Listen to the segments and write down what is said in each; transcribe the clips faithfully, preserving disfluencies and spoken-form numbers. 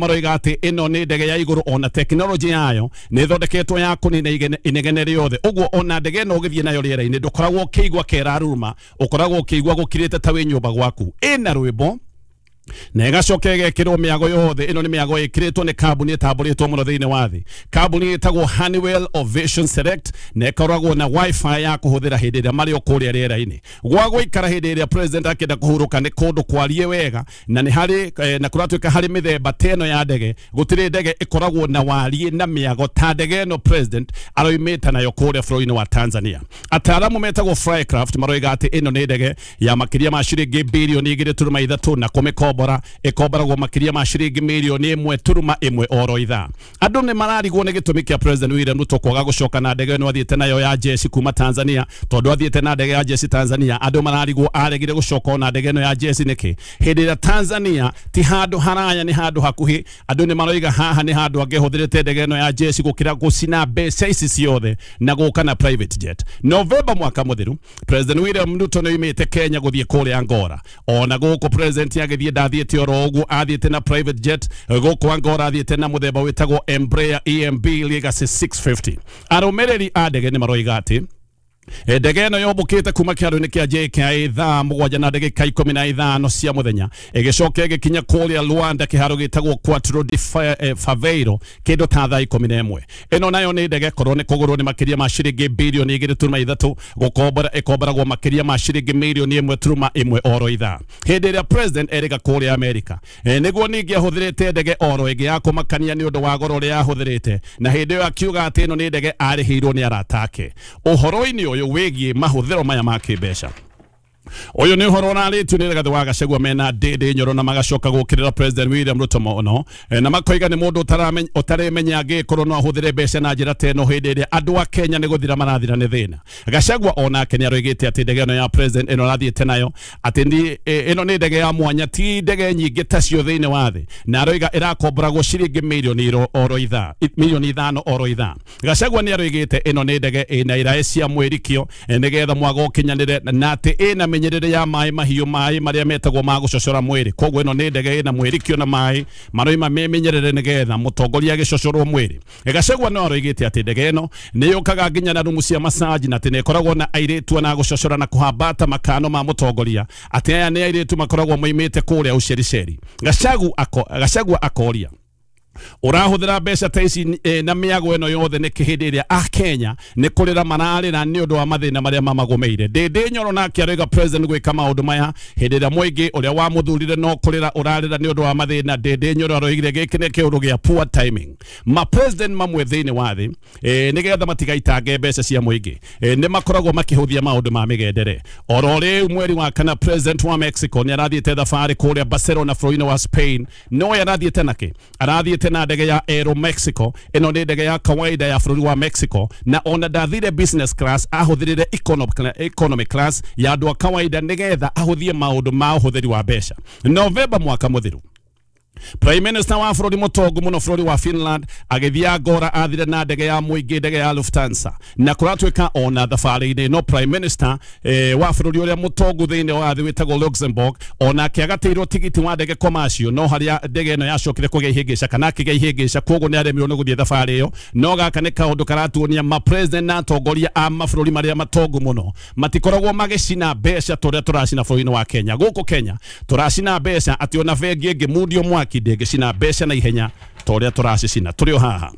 Maroiga atĩ ĩno nĩ ndege ya igũrũ, ona tekinoronjĩ yayo nĩ ĩthondeketwo ya kũnina inegene rĩothe. Ũguo ona ndege ĩno ũgĩthiĩ nayo rĩera-inĩ ndũkoragwo ũkĩigua keraruruma, ũkoragwo ũkĩigua gũkirĩte ta wĩ nyũmba gwaku. Ĩna rwĩmbo na ĩgacoka ĩgekĩrwo mĩago yothe. Ĩno nĩ mĩago ĩkĩrĩtwo nĩ kambuni ĩtambũrĩtwo mũno thĩinĩ wa thĩ, kambuni ĩtagwo Honeywell Ovation Select, na ĩkoragwo na wifi ya kũhũthĩra hĩndĩ ĩrĩa marĩ o kũrĩa rĩera-inĩ. Gwa gũikara hĩndĩ ĩrĩa president akĩenda kũhurũka nĩ kũndũ kwarie wega, na nĩ harĩ eh, na kũratuĩka harĩ mĩthemba ta ĩno ya ndege, gũtirĩ ndege ĩkoragwo na wariĩ na mĩago ta ndege ĩno president aroimĩte nayo kũrĩa bũrũri-inĩ wa Tanzania. Ataaramu metagwo Flycraft maroiga atĩ ĩno nĩ ndege ya makĩria ma ciringi birioni igĩrĩ turuma ithatũ, na kũmĩkombora ĩkomboragwo makĩria ma ciringi mirioni ĩmwe turuma ĩmwe oro ithaa. Andũ nĩ mararigwo nĩ gĩtũmi kĩa President William Ruto kwaga gũcoka na ndege ĩno athiĩte nayo ya jeshi kuma Tanzania, tondũ athiĩte na ndege ya jeshi Tanzania. Andũ mararigwo aregire gũcoka na ndege ĩno ya jeshi nĩkĩ hĩndĩ ĩrĩa Tanzania ti handũ haraya, nĩ handũ hakuhĩ. Andũ nĩ maroiga haha nĩ handũ angĩhũthĩrĩte ndege ĩno ya jeshi gũkĩra gũcina mbeca ici ciothe na gũka na private jet. Novemba mwaka mũthiru President William Ruto nĩ oimĩte Kenya gũthiĩ kũrĩa Angola. Ona gũkũ president agĩthiĩ ndathiĩte oro ũguo, athiĩte na private jet. Gũkũ Angola athiĩte na mũthemba wĩtagwo Embraer E M B Legacy six fifty. Arũmĩrĩri a ndege nĩ maroiga atĩ ndege ĩno yombũkĩte kuma kĩharo-inĩ kĩa J K I A thaa mũgwanja na ndagĩka ikũmi na ithano cia mũthenya, ĩgĩcoka ĩgĩkinya kũrĩa Luanda kĩharo gĩtagwo Quatro de Fevereiro kĩndũ ta thaa ikũmi na ĩmwe. Ĩno nayo nĩ ndege korwo nĩ kũgũrwo nĩ makĩria ma ciringi birioni igĩrĩ turuma ithatũ, gũkombora ĩkomboragwo makĩria ma ciringi mirioni ĩmwe turuma ĩmwe oro ithaa. Hĩndĩ ĩrĩa president erĩga kũrĩa Amerika, nĩguo ningĩ ahũthĩrĩte ndege oro ĩngĩ ya kũmakania nĩ ũndũ wa goro ũrĩa ahũthĩrĩte, na hĩndĩ ĩyo akiuga atĩ ĩno nĩ ndege arĩhĩirwo nĩ arata ake. Ũhoro-inĩ ũyũ wĩgiĩ mahũthĩro maya ma kĩmbeca, ũyũ nĩ ũhoro ũrarĩtio nĩ Rigathĩ wa Gachagua mena Ndĩndĩ Nyoro, na magacoka gũkĩrĩra President William Ruto mũno, na makoiga nĩ mũndũ ũtaremenya angĩkorwo no ahũthĩre mbeca na njĩra ta ĩno hĩndĩ ĩrĩa andũ a Kenya nĩ gũthira marathira nĩ thĩna. Gachagua onake nĩ aroigĩte atĩ ndege ĩno ya president ĩno arathiĩte nayo atĩ ĩno nĩ ndege ya mwanya, ti ndege nyingĩ tacio thĩinĩ wa thĩ, na aroiga ĩrakomboragwo ciringi mirioni oro ithaa, mirioni ithano oro ithaa. Gachagua nĩ aroigĩte ĩno nĩ ndege ĩna iraĩ cia mwĩrikio nĩgetha mwago ũkinyanĩre, na atĩ ĩna mĩnyerere ya maĩ mahiũ, maĩ marĩa metagwo ma gũcocora mwĩrĩ. Koguo ĩno nĩ ndege ĩna mwĩrikio na maĩ maroima memenyerere nĩgetha mũtongoria agĩcocorwo mwĩrĩ. Gachagua no aroigĩte atĩ ndege ĩno nĩ yũkaga nginya na rumu cia massage, na atĩ nĩ ĩkoragwo na airĩtu na gũcocora na kũhambata makano ma mũtongoria, atĩ aya nĩ airĩtu makoragwo moimĩte kũrĩa Ũcericeri. Gachagua akoria ũrahũthĩra mbeca ta ici eh, na mĩago ĩno yothe nĩkĩ hĩndĩ ĩrĩa a Kenya nĩ kũrĩra mararĩra nĩ ũndũ wa mathĩna marĩa mamagũmĩire. Ndĩndĩ Nyoro nake aroiga president gwĩka maũndũ maya hĩndĩ ĩrĩa mũingĩ ũrĩa wamũthurire no kũrĩra ũrarĩra nĩ ũndũ wa mathĩna. Ndĩndĩ Nyoro aroigire gĩkĩ nĩ kĩũndũ gĩa poor timing. Ma president mamwe thĩinĩ wa thĩ eh, nĩgetha matigaitange mbeca cia mũingĩ eh, nĩ makoragwo makĩhũthia maũndũ ma mĩgendere. Oro rĩu mweri wa kana president wa Mexico nĩ arathiĩte thabarĩ kũrĩa Barcelona bũrũri-inĩ wa Spain. No arathiĩte nakĩ? Arathiĩte na ndege ya Aero Mexico. Ĩno nĩ ndege ya kawaida ya bũrũri wa Mexico, na ona ndathire business class, ahũthĩrire economy class ya andũ a kawaida nĩgetha ahũthie maũndũ ma ũhũthĩri wa mbeca. Novemba mwaka mũthiru Prime Minister wa bũrũri mũtongu mũno bũrũri wa Finland agĩthiĩ Angola athire na ndege ya mũingĩ, ndege ya Lufthansa, na kũratuĩka ona thabarĩ-inĩ no Prime Minister eh, wa bũrũri ũrĩa mũtongu thĩinĩ wa thĩ wĩtagwo Luxembourg onake agatĩirwo tigiti wa ndege commercial, no harĩa ndege ĩno yacokire kũgĩa ihĩngĩca kana akĩgĩa ihĩngĩca, koguo nĩ aremirwo nĩ gũthiĩ thabarĩ ĩyo. No gaka nĩ kaũndũ karatuonia ma president na atongoria a mabũrũri marĩa matongu mũno matikoragwo magĩcina mbeca ta ũrĩa tũracina bũrũri-inĩ wa Kenya. Gũkũ Kenya tũracina mbeca atĩ ona bengi ĩngĩmundio mwaki ndĩngĩcina mbeca na ihenya ta ũrĩa tũracicina. Tũrĩ o haha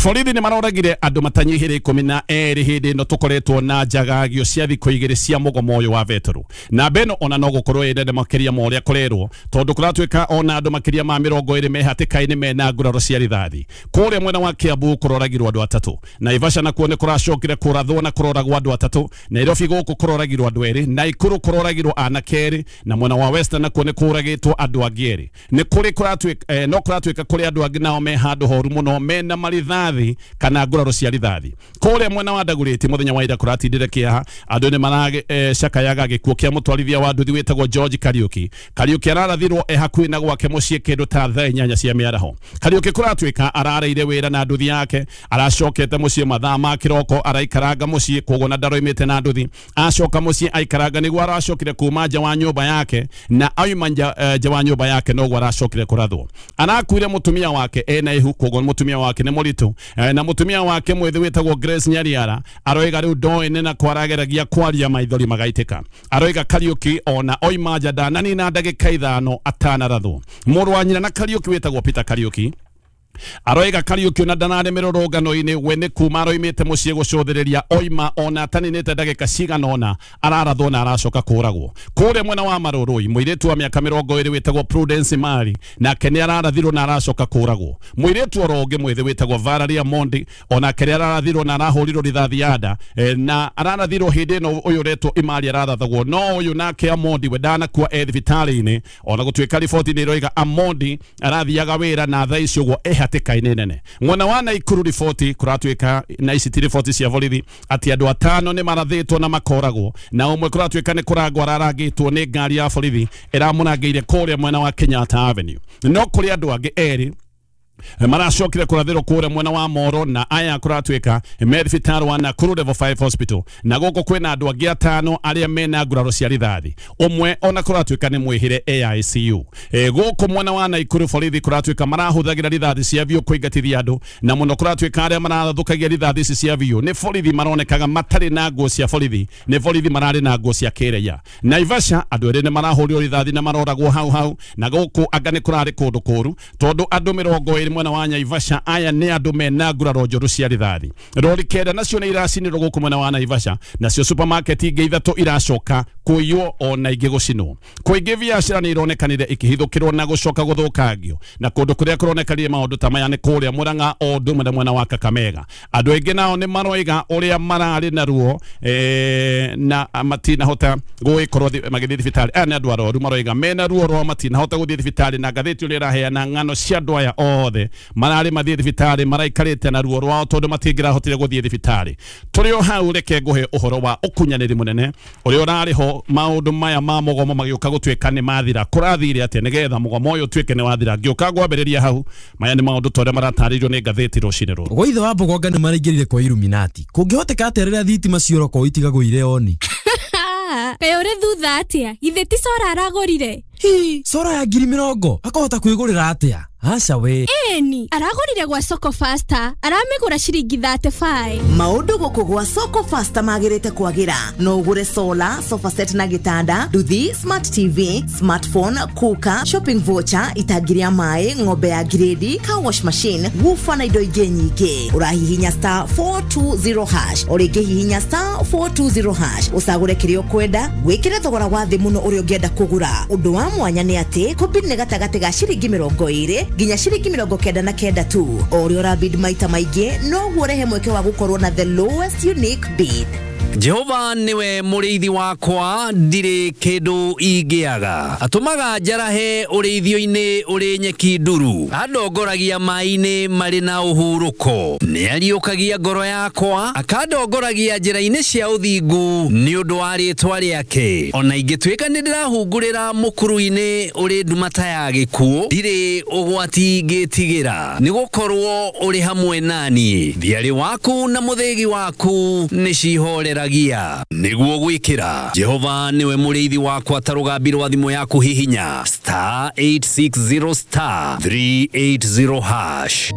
borithi nĩ maroragire andũ matanyihĩire ikũmi na erĩ hĩndĩ ĩno tũkoretwo na njagagio cia thikũ igĩrĩ cia mũgomo ũyũ wa vetero. Namba ĩno ona no gũkorwo ĩ nene makĩria ma ũrĩa kũrerwo, tondũ kũratuĩka ona andũ makĩria ma mĩrongo ĩrĩ me hatĩka-inĩ mena nguraro cia rithathi. Kũrĩa mwena wa Kiambu kũroragirwo andũ atatũ, Naivasha nakuo nĩ kũracokire kũrathwo na kũroragwo andũ atatũ, Nairobi gũkũ kũroragirwo andũ erĩ, Naikuru kũroragirwo anake erĩ, na mwena wa Western nakuo nĩ kũragĩtwo andũ angĩ erĩ. Nĩ kũrĩ kũratuĩka eh, no kũratuĩka kũrĩ andũ angĩ nao me handũ horu mũno mena rithathi kana nguraro cia rithathi. Kũrĩa mwena wa Ndagurĩti mũthenya wa ira kũratindire kĩeha, andũ nĩ maracakayaga gĩkuũ kĩa mũtwarithia wa nduthi wĩtagwo George Kariuki. Kariuki ararathirwo e hakuhĩ na gwake mũciĩ kĩndũ ta thaa inyanya cia mĩaraho. Kariuki kũratuĩka arareire wĩra na nduthi yake, aracokete mũciĩ mathaa ma kĩroko, araikaranga mũciĩ koguo na ndaroimĩte na nduthi. Acoka mũciĩ aikaranga nĩguo aracokire kuma nja wa nyũmba yake, na auma nja uh, wa nyũmba yake noguo aracokire kũrathwo. Arakuire mũtumia wake ena ihu, koguo mũtumia wake nĩ mũritũ, na mũtumia wake mwĩthĩ wĩtagwo Grace Nyariara aroiga rĩu ndoĩ nĩ na kwarageragia kwaria maithori magaitĩka. Aroiga Kariuki ona oima nja ndananina ndagĩka ithano atanarathwo. Mũrũ wa nyina na Kariuki wĩtagwo Peter Kariuki aroiga Kariuki ona ndanarĩ mĩrũrũngano-inĩ, we nĩ kuma aroimĩte mũciĩ gũcũthĩrĩria oima ona ataninĩte ndagĩka cigana ũna ararathwo na aracoka kũragwo. Kũrĩa mwena wa Marũrũi mũirĩtu wa mĩaka mĩrongo ĩrĩ wĩtagwo Prudence Mari nake nĩ ararathirwo na aracoka kũragwo. Mũirĩtu oro ũngĩ mwĩthĩ wĩtagwo Valeria Mondi onake nĩ ararathirwo na arahũrirwo rithathi ya nda, na ararathirwo hĩndĩ ĩno ũyũ ũretwo Imari ararathagwo, no ũyũ nake Amondi we ndanakua e thibitarĩ-inĩ, ona gũtuĩka riboti nĩ ĩroiga Amondi arathiaga wĩra na thaa ici ũguo e hatĩka-inĩ nene. Mwena wa Naikuru riboti kũratuĩka na ici ti riboti cia borithi atĩ andũ atano nĩ marathĩtwo na makoragwo, na ũmwe kũratuĩka nĩ kũrangwo ararangĩtwo nĩ ngari ya borithi ĩramũrangĩire kũrĩa mwena wa Kenyatta Avenue. No kũrĩ andũ angĩ erĩ maracokire kũrathĩrwo kũrĩa mwena wa Moro, na aya kũratuĩka me thibitarĩ wa Nakuru Level five Hospital, na gũkũ kwĩna andũ angĩ atano arĩa mena nguraro cia rithathi, ũmwe ona kũratuĩka nĩ mwĩhĩre A I C U. E, gũkũ mwena wa Nakuru borithi kũratuĩka marahũthagĩra rithathi cia biũ kũingatithia andũ, na mũno kũratuĩka arĩa marathũkagia rithathi ici cia biũ nĩ borithi maronekaga matarĩ na nguo cia borithi, nĩ borithi mararĩ na nguo cia kĩraia. Naivasha andũ erĩ nĩ marahũrirwo rithathi na maroragwo hau hau, na gũkũ anga nĩ kũrarĩ kũndũ kũru tondũ andũ mĩrongo ĩrĩ mwena wa Naivasha aya nĩ andũ mena nguraro njũru cia rithathi. Rori kenda nacio nĩ iracinirwo gũkũ mwena wa Naivasha, nacio supermarket ingĩ ithatũ iracoka kũiywo ona ingĩ gũcinwo. Kũingĩ biacara nĩ ironekanire ikĩhithũkĩrwo na gũcoka gũthũkangio, na kũndũ kũrĩa kũronekanire maũndũ ta maya nĩ kũrĩa Murang'a o ũndũ ũmwe na mwena wa Kakamega. Andũ aingĩ nao nĩ maroiga ũrĩa mararĩ na ruo eh, na matinahota gũgĩkorwo magĩthiĩ thibitarĩ. Aya nĩ andũ arwaru maroiga mena ruo rwa matinahota gũthiĩ thibitarĩ, na ngathĩti ũrĩa ĩraheana ng'ano cia andũ aya othe mararĩ mathiĩ thibitarĩ maraikarĩte na ruo rwao tondũ matingĩrahotire gũthiĩ thibitarĩ. Tũrĩ o hau reke ngũhe ũhoro wa ũkunyanĩri mũnene ũrĩa ũrarĩ ho maũndũ maya ma mũgomo magĩũka gũtuĩka nĩ mathira. Kũrathire atĩa nĩgetha mũgomo ũyũ ũtuĩke nĩ wathira? Ngĩũka ngwambĩrĩria hau, maya nĩ maũndũ ta ũrĩa maratarĩirio nĩ ngathĩti rũcinĩ rũrũ. Gwa ithe wa Mbogonga nĩ maraingĩrire kwa Illuminati. Kũngĩhoteka atĩa rĩrĩa thitima ciora itigagũire oni? Kaĩ ũrĩ thutha atĩa? Githĩ ti cora aragũrire? Hi, cora ya ngiri mĩrongo akahota kwĩgũrĩra atĩa? Aca we. Ĩni, aragũrire gwa Soko Faster, aramĩgũra ciringi thirty five. Maũndũ gũkũ gwa Soko Faster magĩrĩte kwagĩra. No ũgũre solar, sofa set na gĩtanda, nduthi, smart T V, smartphone, cooker, shopping voucher, itangi rĩa maĩ, ng'ombe ya grade, car wash machine, woofer na indo ingĩ nyingĩ. Ũrahihinya star four two zero hash, o rĩngĩ hihinya star four two zero hash, ũcagũre kĩrĩa ũkwenda, wĩkĩre thogora wa thĩ mũno ũrĩa ũngĩenda kũgũra. Ũndũ wa mwanya nĩ atĩ kũbid nĩ gatagatĩ ga ciringi mĩrongo ĩrĩ nginya ciringi mĩrongo kenda na kenda tu. O ũrĩa ũrabid maita maingĩ noguo ũrehe mweke wa gũkorwo na the lowest unique bid. Jehova niwe mũrĩithi wakwa, ndirĩ kĩndũ ingĩaga. Atũmaga njarahe ũrĩithio-inĩ ũrĩ nyeki nduru, andongoragia maĩ-inĩ marĩ na ũhurũko. Nĩariũkagia ngoro yakwa, akandongoragia njĩra-inĩ cia ũthingu nĩ ũndũ wa rĩĩtwa rĩake. Ona ingĩtuĩka nĩndĩrahungurĩra mũkuru-inĩ ũrĩ nduma ta ya gĩkuũ, ndirĩ ũgwati ingĩtigĩra, nĩgũkorwo ũrĩ hamwe naniĩ. Thiarĩ waku na mũthĩgi waku nĩcihorera niguo gwikira. Jehova niwe mũrĩithi wakwa, ta rũgambi rwa thimũ yaku hihinya star eight six zero star three eight zero hash.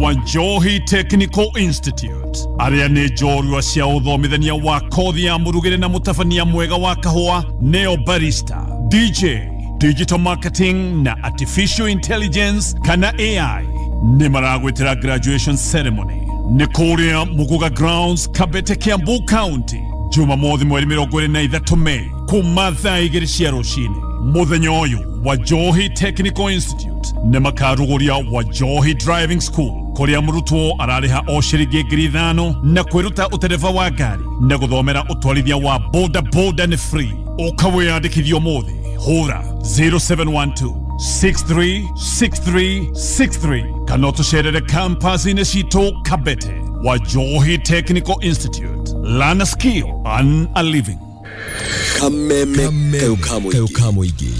Wanjohi Technical Institute arĩa nĩ njorua cia ũthomithania wa kothi ya mũrugĩre na mũtabania mwega wa kahũa, neo barista, D J, digital marketing na artificial intelligence kana A I, nĩ maragwĩtĩra graduation ceremony nĩ kũrĩa Muguga Grounds, Kabete, Kiambu County, Jumamothi mweri mĩrongo ĩrĩ na ithatũ Mei kuma thaa igĩrĩ cia rũcinĩ. Mũthenya ũyũ Wanjohi Technical Institute nĩ makarugũria Wanjohi Driving School kũrĩa mũrutwo ararĩha o ciringi ngiri ithano na kwĩruta ũtereba wa ngari na gũthomera ũtwarithia wa boda boda nĩ free. Ũka wĩyandĩkithie ũmũthĩ, hũra zero seven one two six three six three six three kana ũtũcerere campus-inĩ citũ Kabete. Wajohi Technical Institute. Learn a skill, earn a living. Kameme kayo kamuigi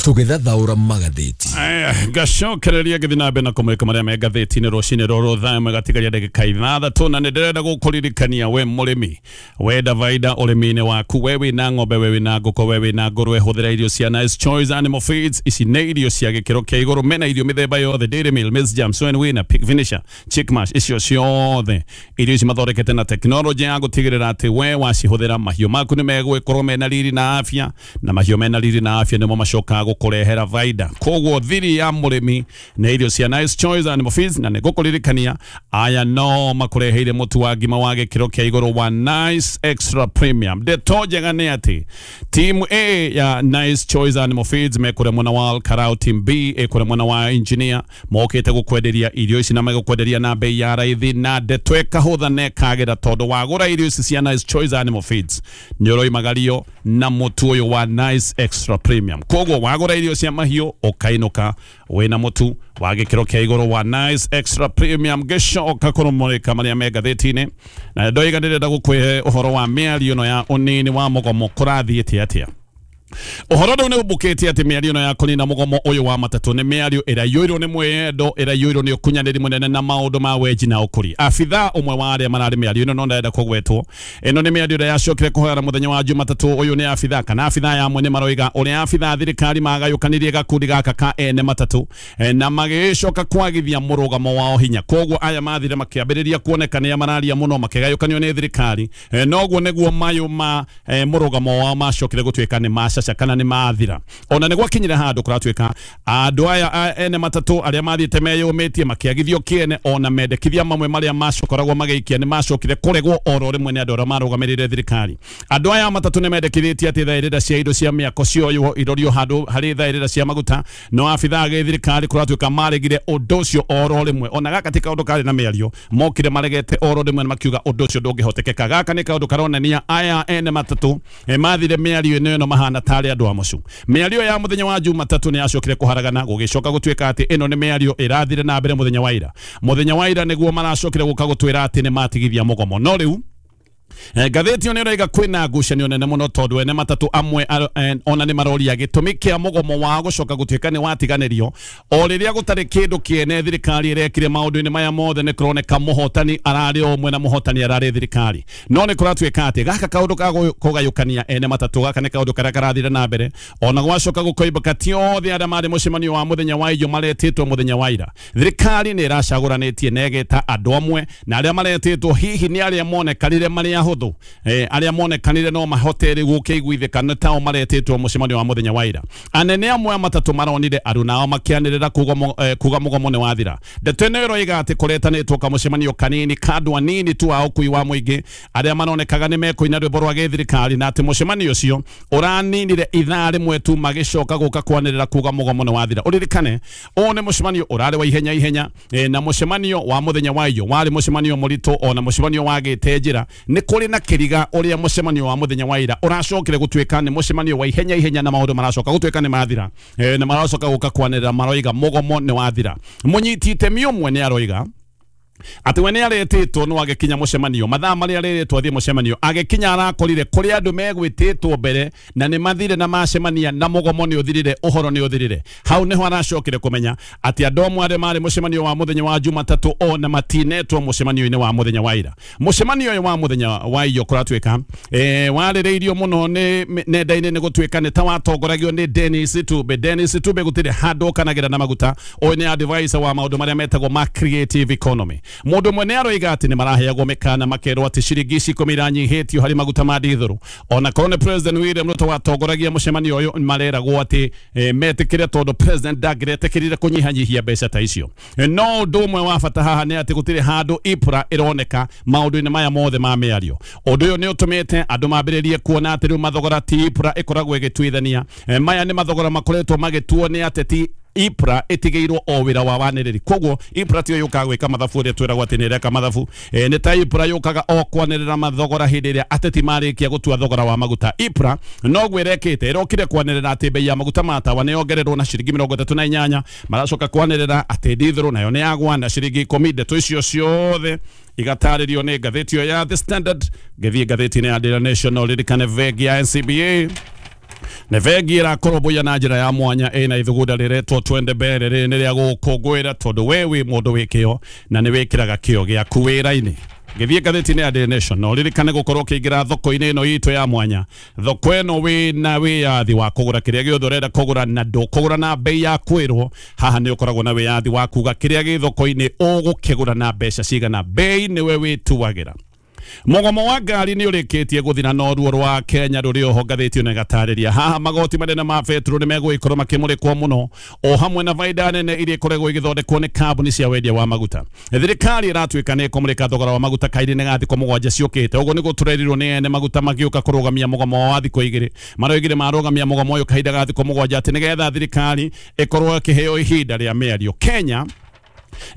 tũgĩthathaũra magathĩti. Ngacokereria ngĩthiĩ na mbere na kũmũrĩka marĩa me ngathĩti-inĩ rũcinĩ rũrũ thaa ĩmwe gatigaria ndagĩka ithathatũ, na nĩ ndĩrenda gũkũririkania we mũrĩmi wenda baida ũrĩmi-inĩ waku, we wĩna ng'ombe, we wĩna ngũkũ, we wĩna ngũrwe, hũthĩra irio cia Nice Choice Animal Feeds. Ici nĩ irio cia gĩkĩro kĩa igũrũ, mena irio mĩthemba yothe, dairy meal, maize jam, soy and winner, pig finisher, chick mash, icio ciothe irio ici mathondekete na tekinoronjĩ ya gũtigĩrĩra atĩ we wacihũthĩra mahiũ maku nĩ megũgĩkorwo mena riri na afya, na mahiũ mena riri na afya nĩmo macokaga gũkũrehera faida. Koguo thiri ya mũrĩmi nĩ irio cia Nice Choice Animal Feeds, na nĩngũkũririkania aya no makũreheire mũtu wa ngima wa gĩkĩro kĩa igũrũ wa Nice Extra Premium. Ndeto njega nĩ atĩ team A ya Nice Choice Animal Feeds mekũrĩa mwena wa Karau, team B ĩkũrĩa mwena wa Engineer, mokĩte gũkwenderia irio ici na megũkwenderia na bei ya raithi, na ndeto ĩkahũtha na ĩkagĩra tondũ wagũra irio ici cia Nice Choice Animal Feeds nĩ ũroimagario na mũtu ũyũ wa Nice Extra Premium. Koguo wagũra irio cia mahiũ ũkainũka wĩna mũtu wa gĩkĩro kĩa igũrũ wa Nice Extra Premium. Ngĩcoka kũrũmũrĩka marĩa me ngathĩti-inĩ, na ndoiga ndĩrenda gũkũhe ũhoro wa mĩario ĩno ya ũnini wa mũgomo kũrathiĩte atĩa. Ũhoro rĩu nĩ ũmbũkĩte atĩ mĩario ĩno ya kũnina mũgomo ũyũ wa matatũ nĩ mĩario ĩraiyũirwo nĩ mwĩyendo, ĩraiyũirwo nĩ ũkunyanĩri mũnene na maũndũ ma wenji na ũkũri. Abithaa ũmwe wa arĩa mararĩ mĩario ĩno no ndarenda kũgwetwo, ĩno nĩ mĩario ĩrĩa yacokire kũhoera mũthenya wa Jumatatũ ũyũ nĩ abithaa kana abithaa ya amwe nĩ maroiga ũrĩa abithaa a thirikari magayũkanirie gakundi gaka ka ene matatũ na magĩcoka kwagithia mũrũgamo wao hinya. Koguo aya mathire makĩambĩrĩria kuoneka nĩa mararia mũno makĩgayũkanio nĩ thirikari, noguo nĩguo mayũ ma mũrũgamo wao macokire gũtuĩka nĩ macaca kana nĩ mathira. Ona nĩ gwakinyire handũ kũratuĩka andũ aya ene matatũ arĩa mathiĩte meyũmĩtie makĩagithio kĩene, ona mendekithia mamwe marĩa macokoragwo magĩikia nĩ macokire kũregwo oro rĩmwe nĩ andũ arĩa marũgamĩrĩire thirikari. Andũ aya matatũ nĩ mendekithĩtie atĩ thaĩrĩra cia indo cia mĩako cioywo irorio handũ harĩ thaĩrĩra cia maguta, no abithaa a gĩthirikari kũratuĩka maregire ũndũ ũcio oro rĩmwe. Ona gaka ti kaũndũ karĩ na mĩario, mokire maregete oro rĩmwe na makiuga ũndũ ũcio ndũngĩhotekeka. Gaka nĩ kaũndũ karonania aya ene matatũ mathire mĩario ĩno ĩno mahana tarĩ andũ a mũcu. Mĩario ya mũthenya wa Jumatatũ nĩ yacokire kũharagana, gũgĩcoka gũtuĩka atĩ ĩno nĩ mĩario ĩrathire na mbere mũthenya wa ira. Mũthenya wa ira nĩguo maracokire gũka gũtwĩra atĩ nĩ matigithia mũgomo. No rĩu ngathĩti ĩyo nĩ ĩroiga kwĩna ngucanio nene mũno tondũ ene matatũ amwe ona nĩ maroria gĩtũmi kĩa mũgomo wao gũcoka gũtuĩka nĩ watiganĩrio o rĩrĩa gũtarĩ kĩndũ kĩene thirikari ĩrekire maũndũ-inĩ maya mothe. Nĩ kũroneka mũhotani ararĩ o ũmwe na mũhotani ararĩ thirikari, no nĩ kũratuĩka atĩ gaka kaũndũ ka kũgayũkania ene matatũ gaka nĩ kaũndũ karĩa karathire na mbere. Ona gwacoka gũkoimbũka ti othe arĩa marĩ mũcemanio wa mũthenya wa irio maretĩtwo mũthenya wa ira. Thirikari nĩ ĩracagũranĩtie na ĩgeta andũ amwe, na arĩa maretĩtwo hihi nĩ arĩa monekanire marĩ ahũthũ, eh, arĩa monekanire no mahote rĩu gũkĩiguithĩka nĩ tao maretĩtwo mũcemanio wa mũthenya wa ira. Anene amwe a matatũ maronire aruna ao makĩanĩrĩra kuga mũgomo nĩ wathira. Ndeto ĩno ĩroiga atĩ kũretanĩtwo kamũcemanio kanini ka andũ anini tu a ũkui wa mũingĩ arĩa maronekaga nĩ mekũina rwĩmbo rwa gĩthirikari, na atĩ mũcemanio ũcio ũraninire ithaa rĩmwe tu magĩcoka gũka kwanĩrĩra kuga mũgomo nĩ wathira. Ũririkane ũyũ nĩ mũcemanio ũrarĩ wa ihenya ihenya, eh, na mũcemanio wa mũthenya wa iyo warĩ mũcemanio mũritũ, ona mũcemanio wagĩte njĩra. Nĩ kũrĩ na kĩriga ũrĩa mũcemanio wa mũthenya wa ira ũracokire gũtuĩka nĩ mũcemanio wa ihenya ihenya, na maũndũ maracoka gũtuĩka nĩ mathira, e, na maracoka gũka kwanĩrĩra maroiga mũgomo nĩ wathira. Mũnyiti itemi ũmwe nĩ aroiga atĩ we nĩ aretĩtwo no agĩkinya mũcemanio mathaa marĩa arĩrĩtwo athiĩ mũcemanio, agĩkinya arakorire kũrĩ andũ megwĩtĩtwo mbere na nĩ mathire na macemania na mũgomo nĩ ũthirire, ũhoro nĩ ũthirire. Hau nĩho aracokire kũmenya atĩ andũ amwe arĩa marĩ mũcemanio wa mũthenya wa Jumatatũ ona matinetwo mũcemanio-inĩ wa mũthenya wa ira. Mũcemanio ũyũ wa mũthenya wa iyo kũratuĩka eh, warĩrĩirio mũno nĩ nenda-inĩ nĩ gũtuĩka nĩ ta watongoragio nĩ Dennis Tube. Dennis Tube gũtirĩ handũ ũkanagĩra na maguta. Ũyũ nĩ advisor wa maũndũ marĩa metagwo ma creative economy. Mũndũ ũmwe nĩ aroiga atĩ nĩ maraheagwo mĩkana makerwo atĩ ciringi ici ikũmi iranyihĩtio harĩ maguta ma dithũrũ. Ona korwo nĩ President William Ruto watongoragia mũcemanio ũyũ, mareragwo atĩ eh, metĩkĩre tondũ President ndangĩretĩkĩrire kũnyihanyihia mbeca ta icio. No ũndũ ũmwe wa bata haha nĩ atĩ gũtirĩ handũ EPRA ĩroneka maũndũ-inĩ maya mothe ma mĩario. Ũndũ ũyũ nĩ ũtũmĩte andũ mambĩrĩrie kuona atĩ rĩu mathogora ti EPRA ĩkoragwo ĩgĩtuithania. Eh, maya nĩ mathogora makoretwo magĩtuo nĩ ateti I P R A ĩtigĩirwo o wĩra wa wanĩrĩri. Koguo I P R A tiyo yũkaga gwĩka mathabu ũrĩa twĩragwo atĩ nĩ ĩreka mathabu. e, nĩ ta I P R A yũkaga o kwanĩrĩra mathogora hĩndĩ ĩrĩa ateti marĩkia gũtua thogora wa maguta. I P R A noguo ĩrekĩte, ĩrokire kwanĩrĩra atĩ bei ya maguta ma tawa nĩ yongererwo na ciringi mĩrongo ĩtatũ na inyanya, maracoka kwanĩrĩra atĩ ndithũrũ nayo nĩ yagwa na ciringi ikũmi. Ndeto icio ciothe igatarĩrio nĩ ngathĩti ĩyo ya The Standard. Ngĩthiĩ ngathĩti-inĩ ya Daily Nation, ririkane bengi ya N C B A nĩ bengi ĩrakũrũmbũiya na njĩra ya mwanya, ĩna ithugunda rĩretwo Twende Mbere. Rĩrĩ nĩ rĩa gũkũngũĩra tondũ we wĩ mũndũ wĩ kĩo na nĩ wĩkĩraga kĩo gĩaku wĩra-inĩ. Ngĩthiĩ ngathĩti-inĩ ya Daily Nation, no ririkane gũkorwo ũkĩingĩra thoko-inĩ ĩno itũ ya mwanya. Thoko ĩno wĩna wĩyathi wa kũgũra kĩrĩa gĩothe ũrenda kũgũra, na ndũkũgũra na bei ya kwĩrwo. Haha nĩ ũkoragwo na wĩyathi wa kuga kĩrĩa gĩ thoko-inĩ ũgũkĩgũra na mbeca cigana, bei nĩwe wĩtuagĩra. Mũgomo wa ngari nĩ ũrĩkĩtie gũthira no ruo rwa Kenya rũrĩ oho, ngathĩti ĩno ĩgatarĩria. Haha magoti manene ma betũrũ nĩ megũgĩkorwo makĩmũrĩkwo mũno, o hamwe na baida nene iria ikoretwo igĩthondekwo nĩ kambuni cia wendia wa maguta. Thirikari ĩratuĩka nĩ ĩkũmũrĩka thogora wa maguta kairĩ-inĩ ga thikũ mũgwanja ciũkĩte. Ũguo nĩguo tũrerirwo nĩ ene maguta magĩũka kũrũgamia mũgomo wa thikũ igĩrĩ. Maroigire marũgamia mũgomo ũyũ kahinda ga thikũ mũgwanja atĩ nĩgetha thirikari ĩkorwo ĩkĩheo ihinda rĩa mĩario. Kenya,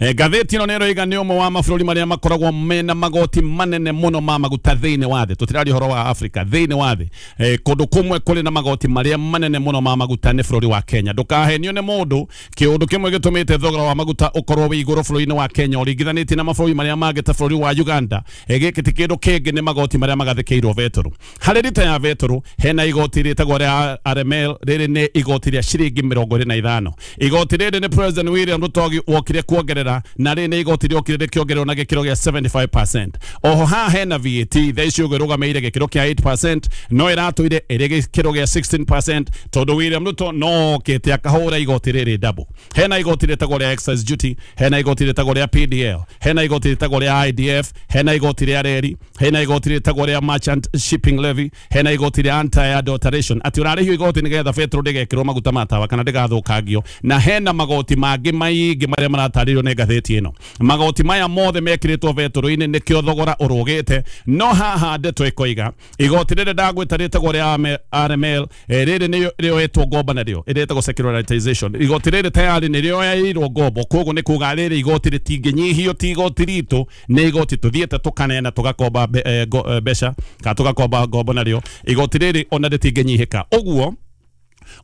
Eh, ngathĩti ĩno nĩ ĩroiga nĩ ũmwe wa mabũrũri marĩa makoragwo mena magoti manene mũno ma maguta thĩinĩ wa thĩ. Tũtiraria ũhoro wa Afrika, thĩinĩ wa thĩ, eh, kũndũ kũmwe kũrĩ na magoti marĩa manene mũno ma maguta nĩ bũrũri wa Kenya. Ndũkahenio nĩ mũndũ, kĩũndũ kĩmwe gĩtũmĩte thogora wa maguta ũkorwo wĩ igũrũ bũrũri-inĩ wa Kenya ũringithanĩtie na mabũrũri marĩa mangĩ ta bũrũri wa Uganda, eh, gĩkĩ ti kĩndũ kĩngĩ, nĩ magoti marĩa magathĩkĩirwo betũrũ. Harĩ rita ya betũrũ hena igoti rĩtagwo rĩa R M L. Rĩrĩ nĩ igoti rĩa ciringi mĩrongo ĩrĩ na ithano. Igoti rĩrĩ nĩ President William Ruto wokire kuongerera, na rĩrĩ nĩ igoti rĩokire rĩkĩongererwo na gĩkĩro gĩa mĩrongo mũgwanja harĩ igana. Oho haha hena V A T, thaa ici ũguo ĩrũgamĩrĩire gĩkĩro kĩa inyanya harĩ igana, no ĩratũire ĩrĩ gĩkĩro gĩa gũkũmi na ithathatũ harĩ igana tondũ William Ruto no okĩte akahũra igoti rĩrĩ double. Hena igoti rĩtagwo rĩa excise duty, hena igoti rĩtagwo rĩa P D L, hena igoti rĩtagwo rĩa I D F, hena igoti rĩa reri, hena igoti rĩtagwo rĩa merchant shipping levy, hena igoti rĩa anti adulteration, atĩ ũrarĩhio igoti nĩgetha betũrũ ndĩgekĩrwo maguta ma tawa kana ndĩgathũkangio, na hena magoti mangĩ maingĩ marĩa maratarĩrio nĩ ngathĩti ĩno. Magoti maya mothe mekĩrĩtwo betũrũ-inĩ nĩkĩo thogora ũrũgĩte. No haha ndeto ĩkoiga igoti rĩrĩ ndagwĩta rĩtagwo rĩa R M L, eh, rĩrĩ nĩ rĩoetwo ngombo narĩo ĩrĩtagwo securitization. Igoti rĩrĩ tayari nĩ rĩoeirwo ngombo, koguo nĩ kuga rĩrĩ igoti rĩtingĩnyihio, ti igoti ritũ, nĩ igoti tũthiĩte tũkaneana tũgakomba mbe- eh, ngo- eh, mbeca kana tũgakomba ngombo narĩo. Igoti rĩrĩ ona rĩtingĩnyihĩka. Ũguo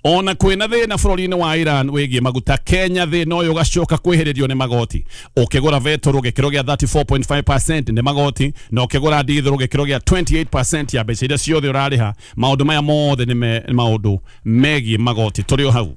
ona kwĩna thĩna bũrũri-inĩ wa Iran wĩgiĩ maguta, Kenya thĩna ũyũ ũgacoka kwĩhĩrĩrio nĩ magoti. Ũkĩgũra betũrũ gĩkĩro gĩa mĩrongo ĩtatũ na inya pointi ithano nĩ magoti, na ũkĩgũra ndithũrũ gĩkĩro gĩa mĩrongo ĩrĩ na inyanya harĩ igana ya mbeca iria ciothe ũrarĩha. Maũndũ maya mothe nĩ me- nĩ maũndũ megiĩ magoti. Tũrĩ o hau,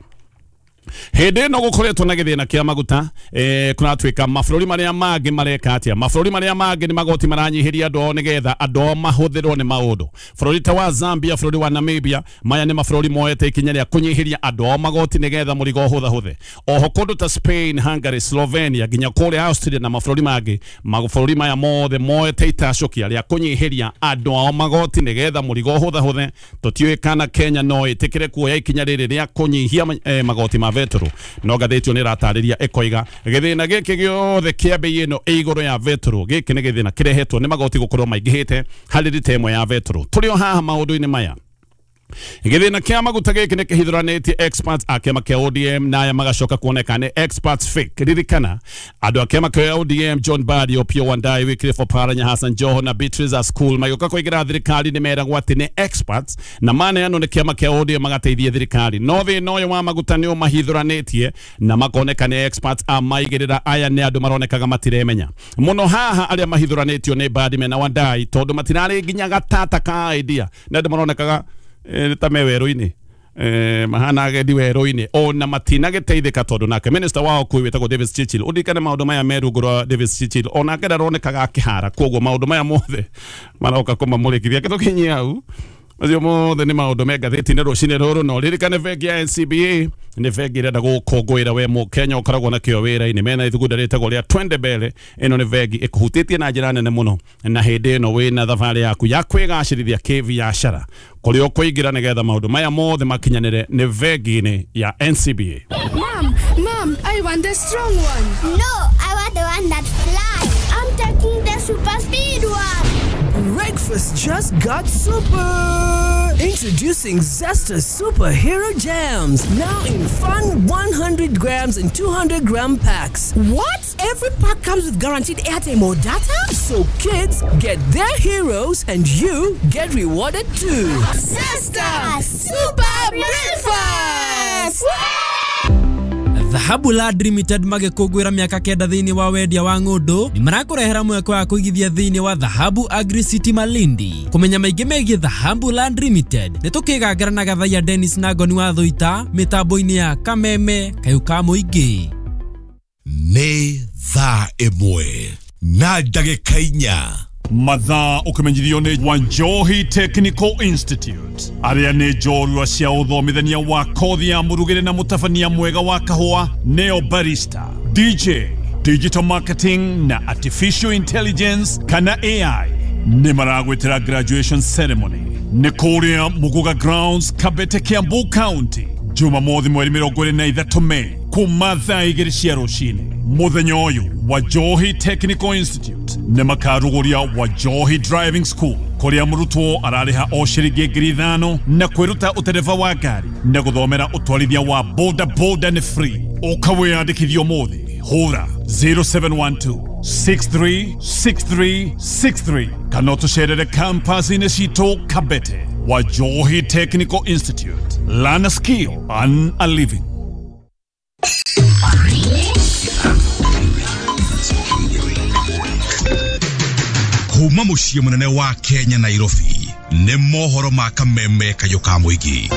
hĩndĩ ĩno gũkoretwo na gĩthĩna kĩa maguta, eh, kũratuĩka mabũrũri marĩa mangĩ mareka atĩa? Mabũrũri marĩa mangĩ nĩ magoti maranyihĩria andũ ao nĩgetha andũ ao mahũthĩrwo nĩ maũndũ. Bũrũri ta wa Zambia, bũrũri wa Namibia, maya nĩ mabũrũri moete ikinya rĩa kũnyihĩria andũ ao magoti nĩgetha mũrigo ũhũthahũthe. Oho kũndũ ta Spain, Hungary, Slovenia, nginya kũrĩa Austria na mabũrũri mangĩ, mabũrũri maya mothe moete itacũkia rĩa kũnyihĩria andũ ao magoti nĩgetha mũrigo ũhũthahũthe. Tũtiũĩ kana Kenya no ĩtĩkĩre kuoya ikinya rĩrĩ rĩa kũnyihia eh, magoti ma betũrũ, no ngathĩti ĩyo nĩ ĩratarĩria ĩkoiga gĩthĩna gĩkĩ gĩothe kĩa bei ĩno ĩ igũrũ ya betũrũ, gĩkĩ nĩ gĩthĩna kĩrehetwo nĩ magoti gũkorwo maingĩhĩte harĩ rita ĩmwe ya betũrũ. Tũrĩ o haha maũndũ-inĩ maya, gĩthĩna kĩa maguta gĩkĩ nĩ kĩhithũranĩtie experts a kĩama kĩa O D M, na aya magacoka kuoneka nĩ experts fake. Ririkana andũ a kĩama kĩa O D M, John Mbadi, Opiyo Wandayi, Wycliffe Oparanya, Hassan Joho na Beatrice Askul, magĩũka kũingĩra thirikari nĩ meragwo atĩ nĩ experts na maneanwo nĩ kĩama kĩa O D M magateithie thirikari, no thĩna ũyũ wa maguta nĩ ũmahithũranĩtie na makoneka nĩ experts a maigĩrĩra. Aya nĩ andũ maronekaga matiremenya mũno. Haha arĩa mahithũranĩtio nĩ Mbadi mena Wandayi tondũ matirarĩ nginya gatata ka idea, nĩ andũ maronekaga eh, ta me werũ-inĩ, eh, mahana agendi werũ-inĩ, ona matinagĩteithĩka tondũ nake minister wa ũkui wĩtagwo Davis Chirchir, ũririkane maũndũ maya me rungu rwa Davis Chirchir, onake ndaronekaga akĩhara. Koguo maũndũ maya mothe maroka kũmamũrĩkithia kĩtũkinyie hau. Macio mothe nĩ maũndũ me ngathĩti-inĩ rũcinĩ rũrũ. No ririkane bengi ya N C B A nĩ bengi ĩrenda gũkũngũĩra we mũkenya ũkoragwo na kĩo wĩra-inĩ. Mena ithugunda rĩtagwo rĩa Twende Mbele. Ĩno nĩ bengi ĩkũhutĩtie na njĩra nene mũno, na hĩndĩ ĩno wĩna thabarĩ yaku ya kwĩgacĩrithia kĩbiacara, kũrĩa ũkũingĩra nĩgetha maũndũ maya mothe makinyanĩre nĩ bengi-inĩ ya N C B A. Mom, Mom, I want the strong one. No, I want the one that flies. I'm taking the super speed one. Breakfast. Breakfast just got super! Introducing Zesta Superhero Jams, now in fun one hundred grams and two hundred gram packs. What? Every pack comes with guaranteed airtime or data? So kids get their heroes and you get rewarded too. Zesta Super Breakfast! Dhahabu Land Limited magĩkũngũĩra mĩaka kenda thĩinĩ wa wendia wa ng'ũndũ nĩ marakũrehera mweke wa kũigithia thĩinĩ wa Dhahabu Agri City Malindi. Kũmenya maingĩ megiĩ Dhahabu Land Limited nĩ tũkĩgangara na Gathaiya Dennis na Ngoni wa Thũita mĩtambo-inĩ ya Kameme Kayũ ka Mũingĩ. Nĩ thaa ĩmwe na ndagĩka inya. Mathaa ũkĩmenyithio nĩ Wanjohi Technical Institute arĩa nĩ njorua cia ũthomithania wa kothi ya mũrugĩre na mũtabania mwega wa kahũa neo barista, D J, digital marketing na artificial intelligence kana A I nĩ maragwĩtĩra graduation ceremony nĩ kũrĩa Muguga Grounds, Kabete, Kiambu County, Jumamothi mweri mĩrongo ĩrĩ na ithatũ Mei kuma thaa igĩrĩ cia rũcinĩ. Mũthenya ũyũ Wanjohi Technical Institute nĩ makarugũria Wanjohi Driving School kũrĩa mũrutwo ararĩha o ciringi ngiri ithano na kwĩruta ũtereba wa ngari na gũthomera ũtwarithia wa boda boda nĩ free. Ũka wĩyandĩkithie ũmũthĩ, hũra zero seven one two six three six three six three kana ũtũcerere campus-inĩ citũ Kabete. Wanjohi Technical Institute, learn a skill, earn a living. Kuma muciĩ mũnene wa Kenya Nairobi nĩ mohoro ma Kameme Kayũ ka Mũingĩ.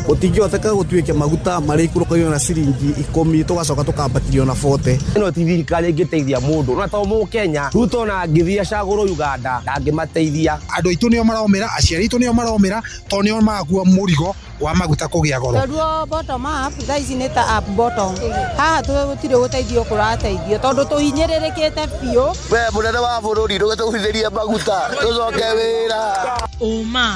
Gũtingĩhoteka gũtuĩke maguta marĩ ikũrũkagio na ciringi ikũmi tũgacoka tũkambatĩrio na bote. Ĩno ti thirikari ĩngĩteithia mũndũ no to Mũkenya Ruto na angĩthiĩ acagũrwo Uganda ndangĩmateithia. Andũ aitũ nĩo maromĩra, aciari aitũ nĩo maromĩra tondũ nĩo marakua mũrigo wa maguta kũgĩa goro. Tondũ bottom up thaa ici nĩ ta up bottom, haha tũtirĩ gũteithio kũrateithio tondũ tũhinyĩrĩrĩkĩte biũ. We mũnene wa bũrũri ndũgĩtũgũithĩrie maguta tũcoke wĩra. Ũma